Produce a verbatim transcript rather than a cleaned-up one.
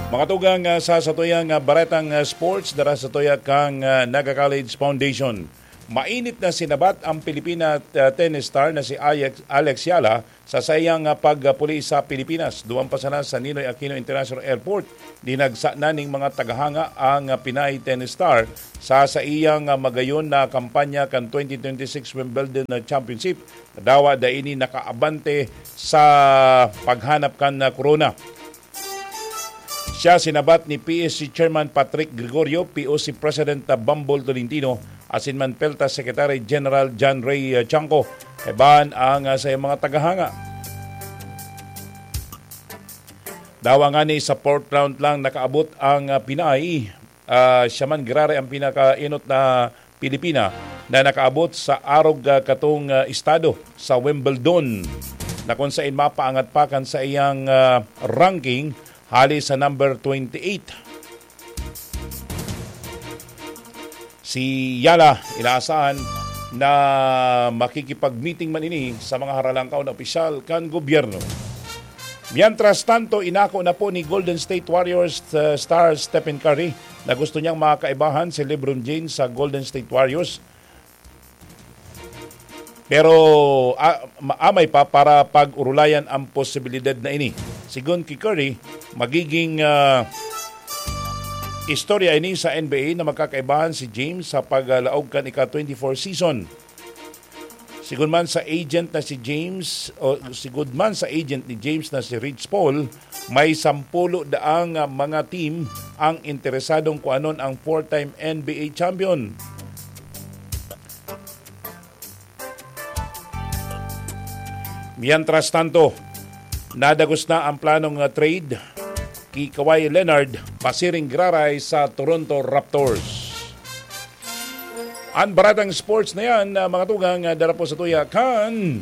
Mga tugang, ah, sa satuyang, ah, baretang, ah, sports, dara sa tuya kang, ah, Naga College Foundation. Mainit na sinabat ang Pilipina, ah, tennis star na si Alex, Alex Yala sa saiyang, ah, pagpuli sa Pilipinas. Duman pa sana sa Ninoy Aquino International Airport, dinagsa na ning mga tagahanga ang, ah, Pinay tennis star sa saiyang, ah, magayon na kampanya kan twenty twenty-six Wimbledon na Championship. Dawa da ini nakaabante sa paghanap kan, ah, korona. Siya sinabat ni P S C Chairman Patrick Gregorio, P O C President Bambol Tolentino, asin man PELTA Secretary General John Ray, uh, Chanco. Kaibahan ang, uh, sa mga tagahanga. Dawa ngani sa fourth round lang nakaabot ang, uh, Pinay. Uh, siya man giraray ang pinakainot na Pilipina na nakaabot sa arog, ah, katong, ah, estado sa Wimbledon, na kung sain mapaangat pa kan sa iyang, ah, ranking hali sa number twenty-eight. Si Yala, inaasahan na makikipag-meeting man ini sa mga haralangkaw na opisyal kan gobyerno. Mientras tanto, inako na po ni Golden State Warriors, uh, star Stephen Curry na gusto niyang makaibahan si LeBron James sa Golden State Warriors. Pero, ah, maamay pa para pag-urulayan ang posibilidad na ini. Sigon ki Curry, magiging, ah, istorya ini sa N B A na magkakaibahan si James sa paglaog kan ika twenty-four season. Sigon man sa agent na si James, o sigon man sa agent ni James na si Rich Paul, may sampulo daang, ah, mga team ang interesadong kuanon ang four-time N B A champion. Mientras tanto, nadagos na ang planong, ah, trade ki Kawhi Leonard pasiring giraray sa Toronto Raptors. Ang baratang sports na yan, ah, mga tugang, ah, dara po sa tuya kan